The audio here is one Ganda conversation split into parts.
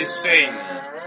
is saying.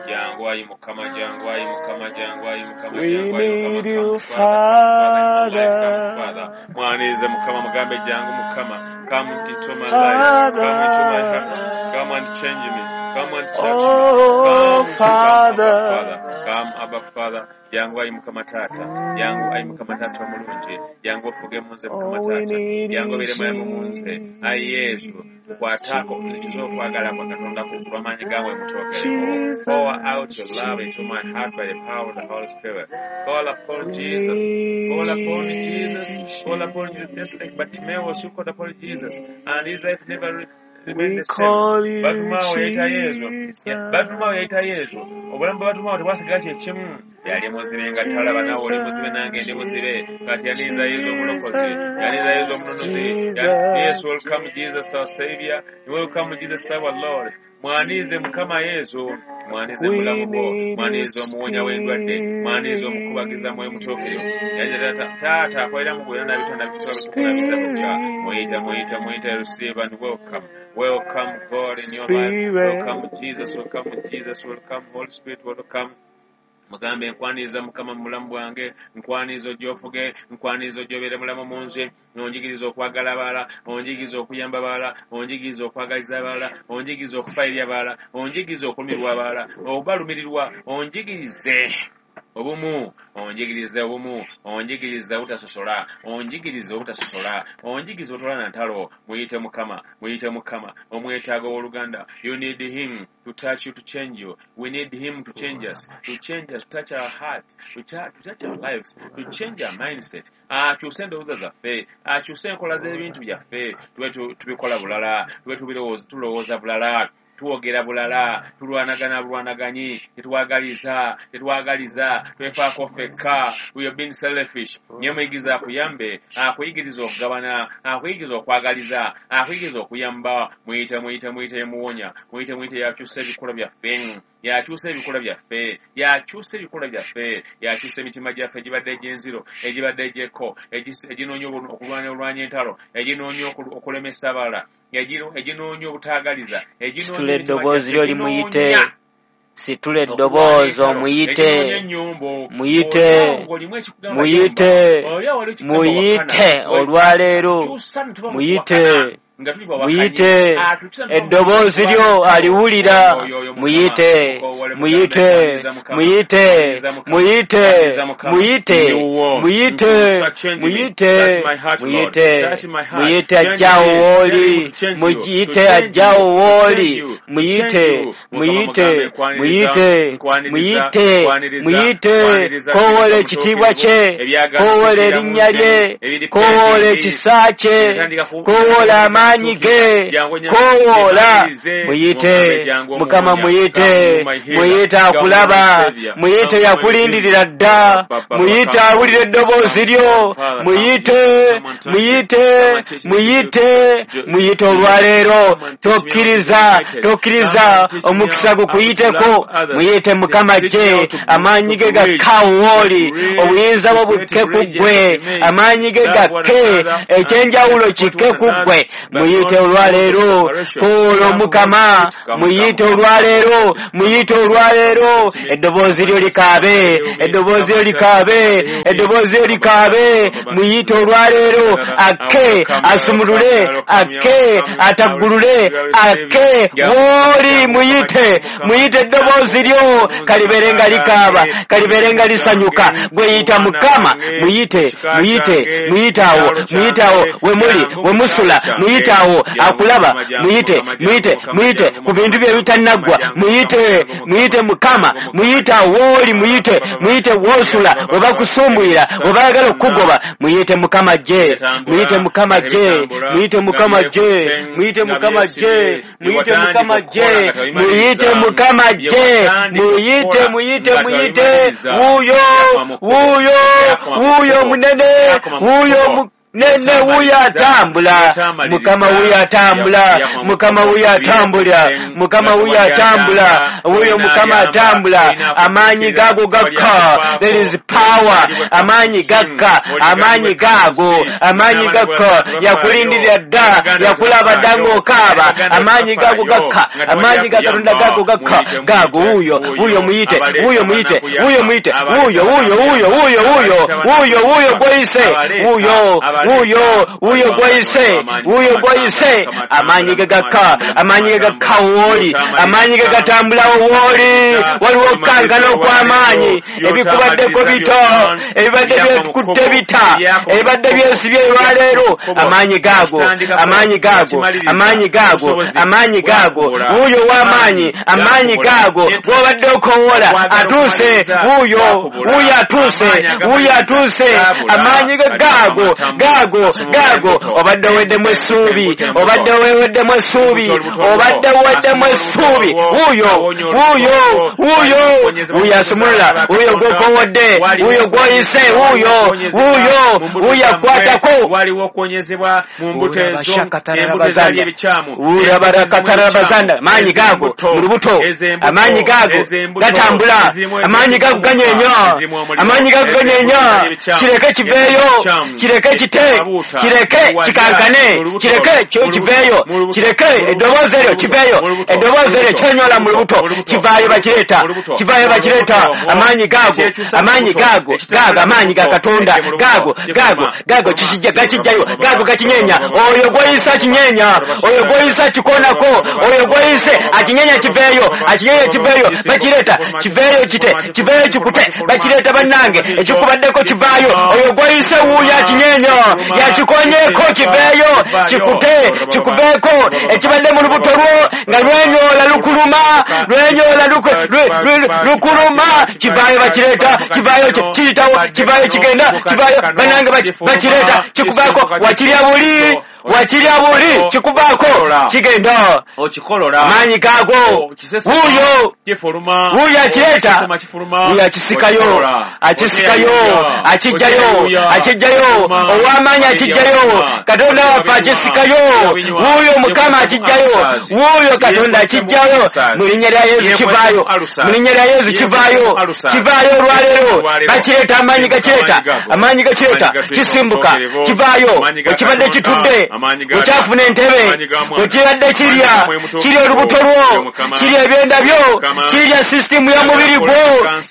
Jangu ayi Mukama, jangu ayi Mukama, jangu ayi Mukama, We jangu ayi Mukama. need Come you, Father, come Father in my life, come Father. Father. Mwanirize Mukama, mugambe jangu Mukama. Come into my life, come into my heart, Father. come and change me, come and touch me. Oh, Come, come, Abba Father, Father. come, Abba Father. Jangu ayi Mukama Taata, jangu ayi Mukama Taata omulungi, jangu ofuge mu nze Mukama Oh, we Taata, need jangu you, obeere mulamu mu nze. Ayi Yesu, Jesus, nkwataako nzijuza okwagala kwa Katonda ku Jesus, lw'amaanyi gammwe mutwogereko. Pour out your Jesus, love into my heart by the power of the Holy Spirit. Call upon We Jesus. Call upon need Jesus. Call upon Jesus. Just like Bartimaeus who called upon Jesus, and his life never remained We the same. call you Bartimaeus yayita Yesu. Bartimaeus yayita Jesus, Yesu. Obulamu bwa Bartimaeus tebwasigala kye kimu. Yali muzibe nga talaba, naawe oli muzibe nange ndi muzibe. Kati yaniriza Yesu omulokozi, yaniriza Yesu omununuzi. Yes, Jesus, welcome Jesus our Savior. Welcome Jesus our Lord. Mwanirize Mukama Yesu, mwanirize We mulamu bwo, need you, mwanirize omuwonya w'endwadde, mwanirize omukubagiza Mwoyo Mutuukirivu. Yajja Taata, Taata akolera mu gwe n'abitonda bitukola bujja. Muyita, muyita, muyita, receive and welcome. Welcome God in your life. Spirit, Welcome Jesus, welcome Jesus, welcome Holy Spirit, welcome. Mugambe nkwaniriza Mukama mu bulamu bwange, nkwaniriza ojja ofuge, nkwaniriza ojja obeere mulamu mu nze, onjigiriza okwagala abalala, onjigiriza okuyamba abalala, onjigiriza okwagaliza abalala, onjigiriza okufa eri abalala, onjigiriza okulumirwa abalala, obalumirirwa, onjigirize obumu, onjigirize obumu, onjigirize obutasosola, onjigirize obutasosola, onjigirize obutolana ntalo. Muyite Mukama, muyite Mukama, omwetaaga ow'oluganda. You need him to touch you, to change you. We need him to change us, to change us, to touch our hearts, to touch our lives, to change our mindset. Akyuse endowooza zaffe, akyuse enkola z'ebintu byaffe, tube tubikola bulala, tube tulowooza bulala, twogera bulala, tulwanagana bulwanaganyi, tetwagaliza, tetwagaliza, twefaako ffekka. We have been selfish. Naye muyigiriza akuyambe, akuyigiriza okugabana, akuyigiriza okwagaliza, akuyigiriza okuyamba. Muyite, muyite, muyite yemuwonya, muyite, muyite yakyusa ebikolwa byaffe, yakyusa ebikolwa byaffe, yakyusa ebikolwa byaffe, yakyusa emitima gyaffe egibadde egy'enziro, egibadde egy'ekko, eginoonya okulwana olwanya entalo, eginoonya okulemesa abalala, eginoonya obutaagaliza, eginoonya Situla emitima eddoboozi gyaffe, lyo limuyite. eginoonya Situla okulwana eddoboozi entalo, omuyite. eginoonya ennyombo. Muyite. Oli awo ng'olimu ekikugamba yomba, Muyite. oli awo waliwo ekikugamba wakana, Muyite olwaleero. atukyusa ne tuba mu Muyite. kuwakana nga tuli bawakanyi, Muyite. atukyusa ne tuba mu Eddoboozi kulwana lyo entalo. aliwulira. Oyo oyo Mukama, Muyite. mukoowole mugambe Muyite. nkwaniriza Mukama, Muyite. nkwaniriza Mukama, Muyite. nkwaniriza Mukama, Muyite. ndi wuwo, Muyite. nkyusa, change me, Muyite. touch my heart Lord, Muyite. touch my heart, Muyite change ajjawo me, tell him w'oli. to change you, to Muyite change ajjawo you, to change w'oli. you, to change Muyite. you. Mukama Muyite. mugambe nkwaniriza, Muyite. nkwaniriza, Muyite. nkwaniriza, Muyite. nkwaniriza, Koowoola kkiriza ekitiibwa Mutuukirivu, kye. ebyagaana Koowoola kufiira mu erinnya nze, lye. ebiri Koowoola pending, ekisa kye. ebitandika Koowoola amaanyi kutuukirira. ge. Jangu onyange, Koowoola. mwanirize, Muyite. mugambe jangu Mukama omuwonya, muyite. come you my healer, Muyite come you my akulaba. savior, Muyite come you my yakulindirira redeemer. dda. Ba, Muyite come awulira Jesus, eddoboozi come, lyo. come Father, come Muyite. Jesus, come and touch me, Muyite. come and teach me to do Muyite. Muyite olwaleero. Come and teach me how to be Tokkiriza. united. Come Tokkiriza and teach me omukisa how to gukuyiteko. love others. Muyite Mukama Teach me how gye. to Amaanyi ge bridge, gakka awo to w'oli. bridge, Obuyinza to bwo create bukke ku bridges ggwe. to me. Amaanyi ge Love one gakke. another and Ekyenjawulo support kikke one ku another, ggwe. but Muyite not source of olwaleero. separation. Koowoola Come Holy Omukama. Spirit, come, Muyite come, come, come, olwaleero. touch me, come Muyite and touch me, come and olwaleero. touch me, Eddoboozi come lyo and touch me, come and likaabe. heal me, Eddoboozi come lyo and touch me, come likaabe. and heal me, Eddoboozi lyo come and touch likaabe. me, Muyite olwaleero. Akke. Asumulule. Akke. Ataggulule. Akke. W'oli muyite. Muyite eddoboozi lyo. Kalibeere nga likaaba. Kalibeere nga lisanyuka. Gwe yita Mukama. Muyite. Muyite. Muyite awo. Muyite awo. We muli. We musula. Muyite awo. Akulaba. Muyite. Muyite. Muyite. Ku bintu bye bitannaggwa. Muyite. Muyite Mukama. Muyite awo w'oli. Muyite. Muyite w'osula. We bakusumbuyira. We baagala okukugoba. Muyite Mukama gye. Muyite Mukama gye. Muyite Mukama gye. Muyite Mukama gye. Muyite Mukama gye. Muyite Mukama gye. Muyite, muyite, muyite. Wuuyo, wuuyo, wuuyo munene. Wuuyo mu Ne wuuyo atambula, Mukama wuuyo atambula, Mukama wuuyo atambula, Mukama wuuyo atambula, wuuyo Mukama atambula. Amaanyi gaago gakka. There is power. Amaanyi gakka, amaanyi gaago, amaanyi gakka. Yakulindirira dda, yakulaba dda ng'okaaba. Amaanyi gaago gakka, amaanyi ga Katonda gaago gakka. Gaago wuuyo, wuuyo muyite, wuuyo muyite, wuuyo muyite, wuuyo, wuuyo, wuuyo, wuuyo, wuuyo, wuuyo, wuuyo gw'oyise, wuuyo, wuuyo, wuuyo gw'oyise, wuuyo gw'oyise. Amaanyi ge gakka, amaanyi ge gakka wooli, amaanyi ge gatambulawo wooli. Waliwo okukankana okw'amaanyi, ebikubaddeko bito, ebibadde byekutte bita, ebibadde byesibye olwaleero. Amaanyi gaago, amaanyi gaago, amaanyi gaago, amaanyi gaago. Wuuyo w'amaanyi, amaanyi gaago. Gw'obadde okowoola atuuse, wuuyo, wuuyo atuuse, wuuyo atuuse. Amaanyi ge gaago, gaago, gaago. Obadde oweddemu essuubi, obadde oweddemu essuubi, obadde oweddemu essuubi. Wuuyo, wuuyo, wuuyo, wuuyo asumulula, wuuyo gw'okoowodde, wuuyo gw'oyise, wuuyo, wuuyo, wuuyo akwatako. Waliwo okuwonyezebwa mu mbuto ezo, embuto ezaali ebikyamu. Urabarakatarabazanda. Amaanyi gaago mu lubuto, amaanyi gaago gatambula, amaanyi gaago ganyeenya, amaanyi gaago ganyeenya. Kireke kiveeyo, kireke kite, kireke kikankane, kireke kiveeyo, kireke eddoboozi eryo kiveeyo, eddoboozi eryo kyenyola mu lubuto, kivaayo bakireeta, kivaayo bakireeta. Amaanyi gaago, amaanyi gaago, gaago amaanyi ga Katonda, gaago, gaago, gaago kikijja, gakijjayo, gaago gakinyeenya. Oyo gw'oyise akinyeenya, oyo gw'oyise akikoonako, oyo gw'oyise akinyeenya kiveeyo, akinyeenya kiveeyo, bakireeta, kiveeyo kite, kiveeyo kikute, bakireeta bannange, ekikubaddeko kivaayo. Oyo gw'oyise wuuyo akinyeenya, yakikonyeeko kiveeyo, kikute, kikuveeko. Ekibadde mu lubuto lwo nga lwenyoola lukuluma, lwenyoola lukuluma, kivaayo bakireeta, kivaayo kiyitawo, kivaayo kigenda, kivaayo bannange bakireeta, kikuvaako. Wakirya buli, wakirya buli, kikuvaako, kigenda. Okikolola. Amaanyi gaago, wuuyo, Kifuluma. wuuyo akireeta, Kifuluma. wuuyo akisikayo, akisikayo, akijjayo, akijjayo. Ow'amaanyi akijjayo, Katonda waffe akisikayo, wuuyo Mukama akijjayo, wuuyo Katonda akijjayo. Mu linnya lya Yesu kivaayo, mu linnya lya Yesu kivaayo, kivaayo olwaleero. Bakireeta, amaanyi gakireeta, amaanyi gakireeta, kisimbuka, kivaayo. Ekibadde kitudde, okyafuna entebe, ekibadde kirya, kirya olubuto lwo, kirya ebyenda byo, kirya sisitimu y'omubiri gwo,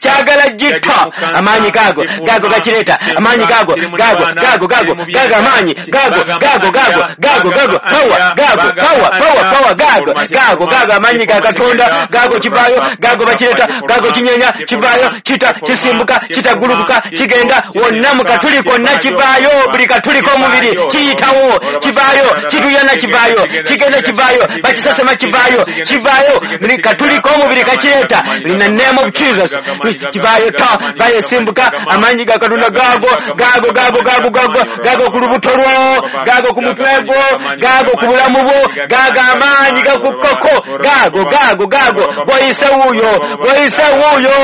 kyagala gitta. Amaanyi gaago, gaago gakireeta, amaanyi gaago, gaago, gaago, gaago, gaago amaanyi, gaago, gaago, gaago, gaago, gaago, power, gaago, power, power, power, gaago, gaago, gaago amaanyi ga Katonda, gaago kivaayo, gaago bakireeta, gaago kinyeenya, kivaayo, kita, kisimbuka, kitagulukuka, kigenda wonna mu katuli konna kivaayo, buli katuli k'omubiri kiyitawo, kivaayo, kituyana kivaayo, kigenda kivaayo, bakisasama kivaayo, kivaayo, buli katuli k'omubiri kakireeta. In the name of Jesus, kivaayo ta, vaayo simbuka, amaanyi ga Katonda gaago, gaago, gaago, gaago, gaago, gaago ku lubuto lwo, gaago ku mutwe gwo, gaago ku bulamu bwo, gaago amaanyi gakukkako, gaago, gaago, gaago, gw'oyise wuuyo, gw'oyise wuuyo,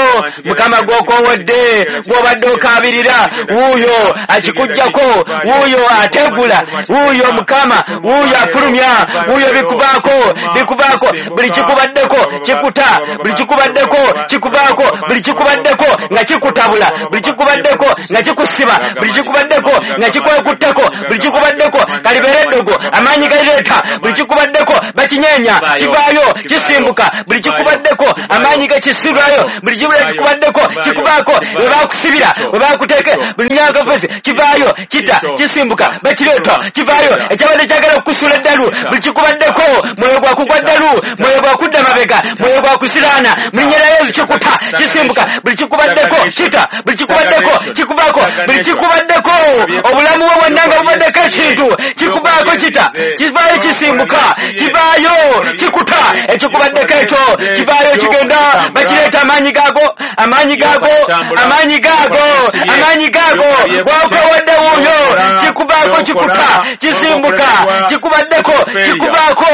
Mukama gw'okoowodde, gw'obadde okaabirira, wuuyo akikuggyako, wuuyo ategula, wuuyo Mukama, wuuyo afulumya, wuuyo bikuvaako, bikuvaako, buli kikubaddeko kikuta, buli kikubaddeko kikuvaako, buli kikubaddeko nga kikutabula, buli kikubaddeko nga kikusiba, buli kikubaddeko nga kikwekuttako, buli kikubaddeko kalibeere eddogo, amaanyi galireeta, buli kikubaddeko bakinyeenya, kivaayo, kisimbuka, buli kikubaddeko amaanyi gakisibwayo, buli kikubaddeko kikuvaako, we bakusibira, we bakuteeka, buli myaka fesi kivaayo, kita, kisimbuka, bakireeta, kivaayo, ekyabadde kyagala okukusuula eddalu, buli kikubaddeko mwoyo gwakugwa ddalu, mwoyo gwakudda mabega, mwoyo gwakusiraana, mu linnya lya Yesu kikuta, kisimbuka, buli kikubaddeko kita, buli kikubaddeko kikuvaako, buli kikubaddeko obulamu bwo bwonna nga bubaddeko ekintu kikuvaako, kita, kivaayo, kisimbuka, kivaayo. Kikuta ekikubaddeko ekyo kivaayo kigenda. Bakireeta amaanyi gaago, amaanyi gaago, amaanyi gaago, amaanyi gaago. Gwakowadde wuuyo, kikuvaako, kikuta, kisimbuka, kikubaddeko, kikuvaako.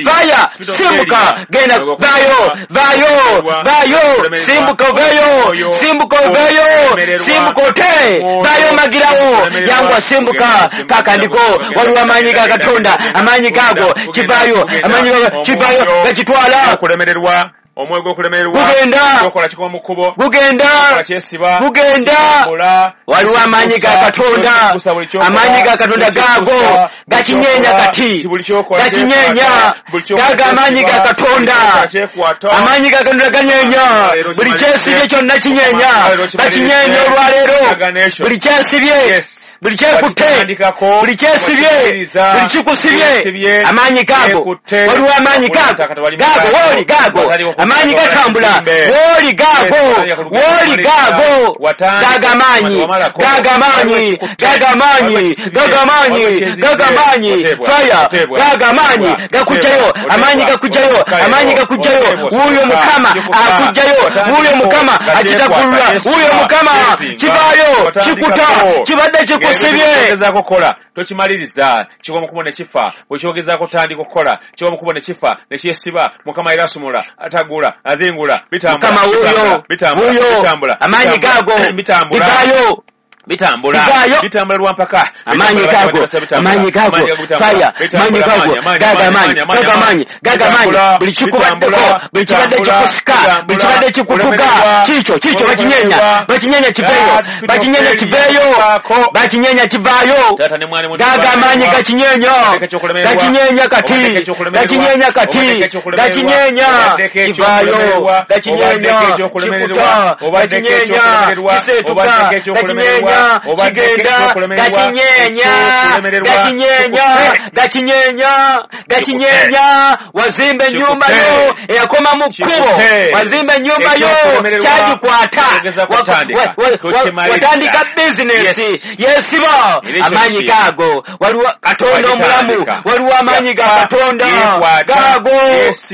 Faya, simbuka, genda, vaayo, vaayo, vaayo, simbuka oveeyo, simbuka oveeyo, simbuka ote, vaayo magirawo, yangwa, simbuka kakandiko. Waliwo amaanyi ga Katonda, amaanyi gaago kivaayo, amaanyi gaago kivaayo, gakitwala. Okulemererwa, omwoyo gw'okulemererwa. Gugenda. Kyokola kikoma mu kkubo. Gugenda. Kyokola kyesiba. Gugenda. Kitambula. Waliwo amaanyi ga Katonda, Kyekuusa buli kyokola. amaanyi ga Katonda Kyekuusa, gaago gakinyeenya buli kati, buli kyokola gakinyeenya. kyekwata, buli kyokola Gaago amaanyi ga kyesiba, Katonda, buli kyokola kyekwata. amaanyi ga Katonda ganyeenya buli kyesibye kyonna, kinyeenya, bakinyeenya olwaleero buli kyesibye, Yes. buli kyekutte, Wakitandikako, buli kyesibye, wakimaliriza, buli kikusibye, kyesibye, amaanyi gaago. kyekutte, Waliwo amaanyi gaago, gaago wooli, gaago amaanyi gatambula wooli, gaago wooli, gaago, gaago amaanyi, gaago amaanyi, gaago amaanyi, gaago amaanyi, gaago amaanyi, faya, gaago amaanyi gakugjayo, amaanyi gakugjayo, amaanyi gakugjayo. Wuuyo Mukama akugjayo, wuuyo Mukama akitakulula, wuuyo Mukama kivaayo, kikuta, kibadde kikusibye. Kyogezaako kukola tokimaliriza, kigwa mu kkubo ne kifa. Bwekyogezaako tandika okukola, kigwa mu kkubo ne kifa ne kyesiba. Mukama era asumula, atagula, azingula, bitambula, Mukama wuuyo, bitambula, wuuyo, bitambula, amaanyi bitambula, gaago bitambula, bivaayo. Bitambula, Bivaayo. bitambula lwampaka. Amaanyi gaago, amaanyi gaago, faya, amaanyi gaago, gaago amaanyi, gaago amaanyi, gaago amaanyi. Buli kikubaddeko, buli kibadde kikusika, buli kibadde kikutuga, kiikyo, kiikyo, bakinyeenya, bakinyeenya kiveeyo, bakinyeenya kiveeyo, bakinyeenya kivaayo. Gaago amaanyi gakinyeenya, gakinyeenya kati, gakinyeenya kati, gakinyeenya kivaayo, gakinyeenya kikuta, gakinyeenya kiseetuka, gakinyeenya kigenda, gakinyeenya, gakinyeenya, gakinyeenya, gakinyeenya. Wazimba ennyumba yo eyakoma mu kkubo, wazimba ennyumba yo kyagikwata, watandika bizinesi yesiba. Amaanyi gaago, waliwo Katonda omulamu, waliwo amaanyi ga Katonda gaago,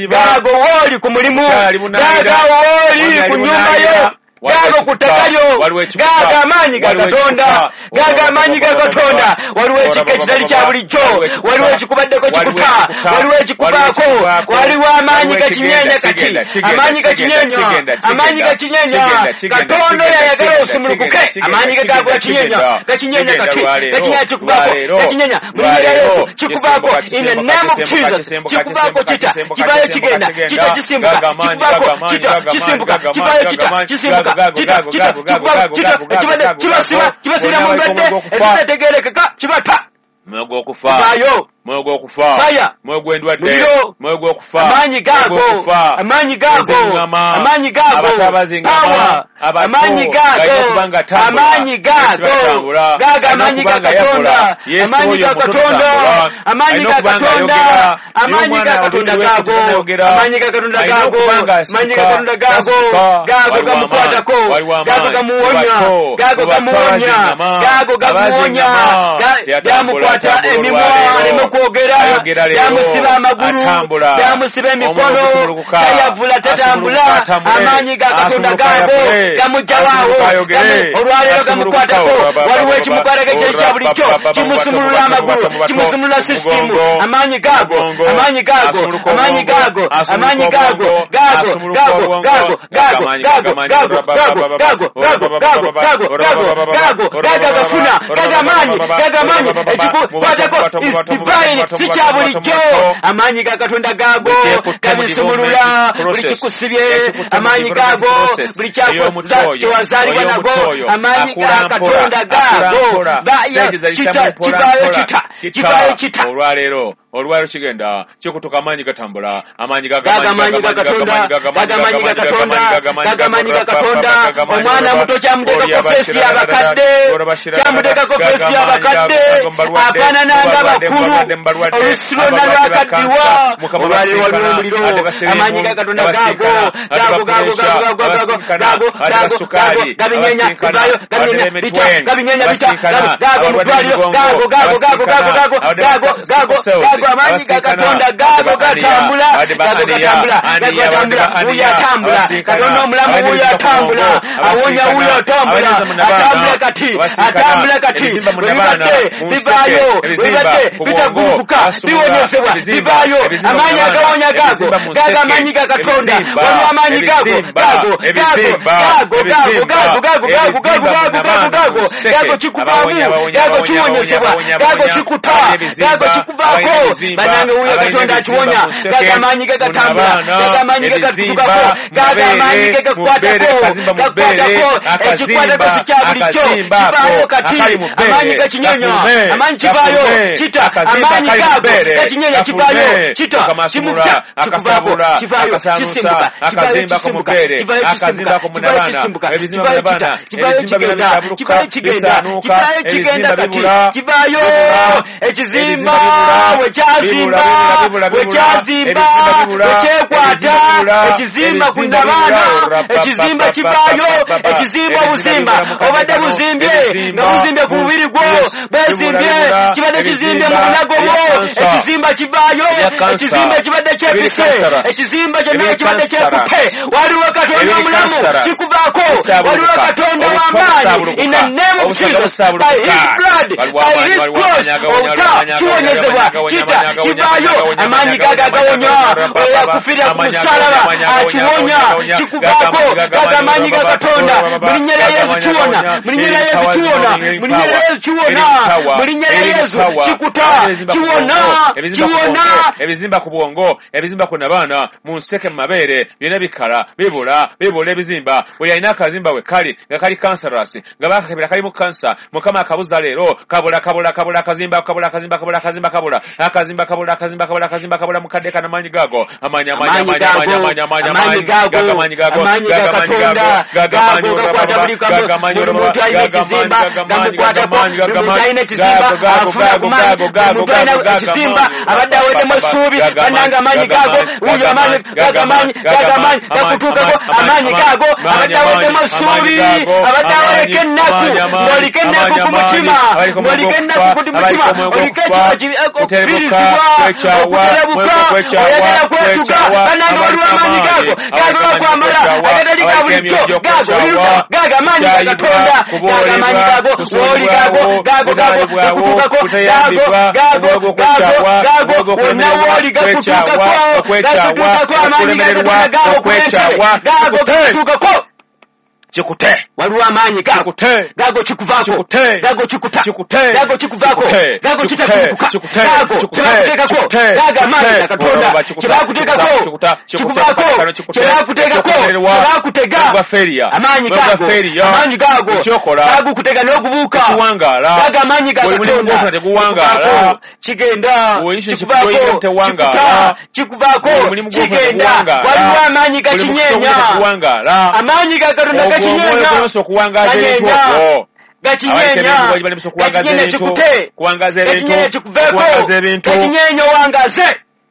gaago wooli ku mulimu, gaago wooli ku nyumba yo, gaago ku ttaka lyo, gaago amaanyi ga Katonda, gaago amaanyi ga Katonda. Waliwo ekika ekitali kya bulijjo, waliwo ekikubaddeko kikuta, waliwo ekikuvaako, waliwo amaanyi gakinyeenya kati, amaanyi gakinyeenya, amaanyi gakinyeenya. Katonda oyo ayagala osumulukuke, amaanyi ge gaago gakinyeenya, gakinyeenya kati, gakinyeenya kikuvaako, gakinyeenya mu linnya lya Yesu kikuvaako. In the name of Jesus, kikuvaako, kita, kivaayo kigenda, kita kisimbuka, kikuvaako, kita kisimbuka, kivaayo, kita kisimbuka, kita, kita kikuvaako, kita ekibadde kibasiba, kibasibira mu ndwadde ezitategeerekeka, kibata. Mwoyo gw'okufa, Kivaayo. mwoyo gw'okufa, Fire. mwoyo gw'endwadde, Muliro. mwoyo gw'okufa, Amaanyi gaago, mwoyo gw'okufa, amaanyi gaago, Eziŋŋama, amaanyi gaago, abato abaziŋŋama, power, abato, amaanyi galina gaago, okuba nga atambula, amaanyi Yesu gaago, atambula, gaago alina amaanyi okuba ga nga Katonda, yakola. Yesu amaanyi oyo ga muto Katonda, tatambula, amaanyi alina ga okuba nga Katonda, ayogera, amaanyi naye ga omwana Katonda olulimi gaago, lwe amaanyi ga Katonda alina gaago, okuba nga amaanyi ga asituka, Katonda gaago, tasituka. gaago Waliwo gamukwatako, amaanyi, waliwo gaago amaanyi. gamuwonya, Mubato, gaago mubato gamuwonya, abaziŋŋama, gaago gamuwonya, abaziŋŋama. Teyatambula, gamukwata atambula emimwa olwaleero. aleme kwogera, Ayogera leero, gamusiba amagulu, atambula. gamusiba emikono, Omwoyo gusumulukuka, tayavula, tatambula, asumulukuka, atambule. amaanyi ga Katonda Asumulukuka, gaago ayavule. gamuggyawaawo, Asumulukuka, ayogere. olwaleero Asumulukuka, gamukwatako, waliwo ba- ekimukwatako ekitali kya bulijjo, kimusumulula amagulu, kimusumulula sisitimu, amaanyi gaago, Mugongo, amaanyi gaago, asumuluka amaanyi obwongo, gaago, asumuluka amaanyi gaago, obwongo, gaago, asumuluka gaago, obwongo, gaago, gaago, amaanyi, gaago, amaanyi, gaago, gaago, gaago, gaago, gaago, gaago, gaago, gaago, gaago agafuna, gaago amaanyi, gaago amaanyi, ekikukwatako is divine, si kya bulijjo. Amaanyi ga Katonda gaago gabisumulula buli kikusibye, amaanyi gaago buli kyewazaalibwa nago, amaanyi ga Katonda gaago kita, kivaayo, kita, kivaayo, kita. Olwaleero, olwaleero kigenda kikutuka, amaanyi gatambula, amaanyi. Gaga amaanyi ga Katonda, gaga amaanyi ga Katonda, gaga amaanyi ga Katonda. Omwana muto kyamuteekako feesi y'abakadde, kyamuteekako feesi y'abakadde, afaanana ng'abakulu, olusi lwonna lwakaddiwa. Olwaleero waliwo omuliro, amaanyi ga Katonda gaago, gaago, gaago, gaago, gaago, gaago, gaago, gaago, gabinyenya, bivaayo, gabinyenya, bita, gabinyenya, bita, gaago mu ddwaliro, gaago, gaago, gaago, gaago, gaago, gaago, gaago, gaago, Gago amaanyi ga Katonda gago gatambula, gago gatambula, gago gatambula. Wuuyo atambula, Katonda omulamu wuuyo atambula, awonya wuuyo atambula, atambula kati, atambula kati. Webibadde bivaayo, webibadde bitagulukuka biwonyezebwa, bivaayo. Amaanyi agawonya gago, gago amaanyi ga Katonda. Waliwo amaanyi gago, gago, gago, gago, gago, gago, gago, gago, gago, gago, gago, gago, gago kikuvaamu, gago kiwonyezebwa, gago kikuta, gago kikuvaako. Bannange wuuyo Katonda akiwonya. Gago amaanyi ge gatambula, gago amaanyi ge gatutukako, gago amaanyi ge gakukwatako, gakukwatako. Ekikwatako si kya bulijjo, kivaayo kati. Amaanyi gakinyonya, amaanyi kivaayo, kita. Amaanyi gago gakinyonya, kivaayo, kita, kimukuta, kikuvaako, kivaayo, kisimbuka, kivaayo, kisimbuka, kivaayo, kisimbuka, kivaayo, kisimbuka, kivaayo, kita, kivaayo, kigenda, kivaayo, kigenda, kivaayo, kigenda kati, kivaayo. Ekizimba wekyazimba, wekyazimba, wekyekwata, ekizimba ku nabaana, ekizimba kivaayo. Ekizimba obuzimba obadde buzimbye, nga buzimbye ku mubiri gwo, bwezimbye, kibadde kizimbye mu bulago bwo, ekizimba kivaayo. Ekizimba ekibadde kyepise, ekizimba kyonna ekibadde kyekutte, waliwo Katonda omulamu, kikuvaako. Waliwo Katonda w'amaanyi. In the name of Jesus, by his blood, by his cross, obuta kiwonyezebwa, kita, kivaayo. Amaanyi gago agawonya, oyo yakufiirira ku musalaba akiwonya, kikuvaako. Gago amaanyi ga Katonda. Mu linnya lya Yesu kiwona, mu linnya lya Yesu kiwona, mu linnya lya Yesu kiwona, mu linnya lya Yesu kikuta, kiwona, kiwona. Ebizimba ku bwongo, ebizimba ku nabaana, mu nseke, mu mabeere, byonna bikala, bibula, bibula ebizimba. Buli alina akazimba we kali nga kali cancerous, nga bakakebera kalimu kansa, Mukama akabuza leero. Kabula, kabula, kabula akazimba, kabula akazimba, kabula akazimba, kabula akazimba, kabula akazimba, kabula akazimba, kabula mukadde kana. Amaanyi gago, amaanyi, amaanyi, amaanyi, amaanyi, amaanyi, amaanyi, amaanyi gago, amaanyi gago, amaanyi ga Katonda gago gakwata buli kamu. Buli muntu alina ekizimba gamukwatako, buli muntu alina ekizimba afuna ku maanyi, buli muntu alina ekizimba abadde aweddemu essuubi. Bannange, amaanyi gago wuuyo, amaanyi gago, amaanyi gago, amaanyi gakutuukako, amaanyi gago. Abadde aweddemu essuubi, abadde awoleka ennaku, ng'oliko ennaku ku mutima, ng'oliko ennaku ku mutima, oliko okufiirizibwa, okuterebuka, oyagala kwetuga. Bannange, waliwo amaanyi gago, gago gakwambala agatali ga bulijjo. Gago gago amaanyi ga Katonda, gago amaanyi gago wooli, gago, gago, gago gakutuukako, gago, gago, gago, gago wonna wooli gakutuukako, gakutuukako. Amaanyi ga Katonda gago kuleetebe, gago gakutuukako. Kikute. Waliwo amaanyi gago. Kikute. Gago kikuvaako. Kikute. Gago kikuta. Kikute. Gago kikuvaako. Kikute. Gago Kikute. kitakulukuka. Kikute. Gago Kikute. kyebakuteekako. Kikute. Gago amaanyi ga Kikute. Katonda Kikuta. kyebakuteekako. Kikuta. Kikuvaako. Kikute. Kyebakuteekako. Kikuterwa. Kyebakutega. Gwa failure. Amaanyi Gwa gago, failure. amaanyi gago Ekyokola. gagukutega n'okubuuka. Tekiwangaala. Gago amaanyi ga Buli mulimu Katonda gw'ofuna teguwangaala. Kikuvaako, kigenda. Buli Kikuvaako, kyoyingira tewangaala. kikuta, kikuvaako, Buli mulimu gw'ofuna kigenda. teguwangaala. Waliwo amaanyi Buli mukisa gakinyeenya. ogufuna teguwangaala. Amaanyi ga Katonda Ogwo omwoyo gakinyeenya. gulemesa okuwangaaza ebintu Ganyeenya. okwo. Gakinyeenya. Abaliko balemesa okuwangaaza Gakinyeenya, ebintu. kikute. Kuwangaaza ebintu. Gakinyeenya, kikuveeko. Kuwangaaza ebintu. Gakinyeenya, owangaze.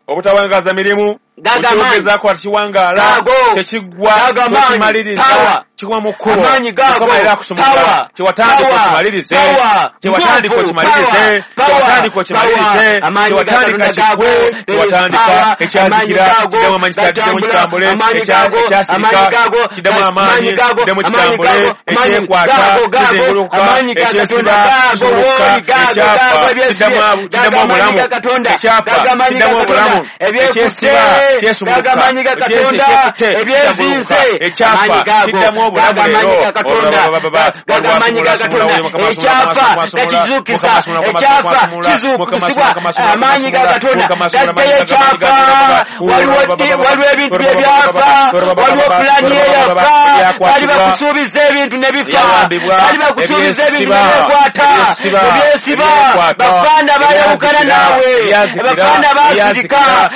Obutawangaaza mirimu. Gago amaanyi. Okyogezaako ati kiwangaala. Gago. Tekiggwa. Gago amaanyi. Tokimaliriza. Power. Kigwa mu kkubo. Amaanyi gago. Mukama era akusumulula. Power. Kyewatandika Power. okimalirize. Power. Kyewatandika Nguvu. okimalirize. Power. Kyewatandika okimalirize. Power. Amaanyi ga Kyewatandika Katonda gago. kiggwe. There is Kyewatandika power. ekyazikira. Amaanyi gago. Kiddemu amaanyi, kiddemu Gatambula. kitambule. Amaanyi gago. Ekyasirika. Amaanyi gago. Kiddemu amaanyi. Amaanyi gago. Kiddemu Amaanyi kitambule. gago. Amaanyi Ekyekwata. gago. Gago. Kizinguluka. Amaanyi ga Katonda Ekyesiba. gago. Kisumuluka. Wooli gago. Ekyafa. Gago ebyesibye. Kiddemu Gago kiddemu amaanyi obulamu. ga Katonda. Ekyafa. Gago amaanyi ga Kiddemu Katonda. obulamu. Ebyekutte. Ekyesiba. Kyesumuluka. Gago amaanyi ga Katonda. Ekyekutte. Ebyezinze. Ekyafa. Amaanyi gago. Kiddamu obulamu Gago amaanyi leero. ga Katonda. Gago amaanyi ga Katonda. Ekyafa gakizuukisa. Ekyafa kizuukusibwa. Amaanyi ga Katonda gajjayo ekyafa. Waliwo ebintu bye byafa, waliwo pulaani eyafa. Bali bakusuubiza ebintu ne bifa, bali bakusuubiza ebintu ne byekwata, ebyesiba. Bafaana bayawukana naawe, abafaana basirika,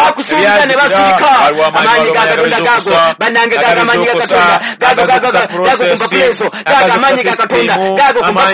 bakusuubiza ne basirika. Amaanyi ga Katonda gago, bannange, gago amaanyi ga Katonda gago, gago, gago kumpa puleso, gago amaanyi ga Katonda gago kumpa.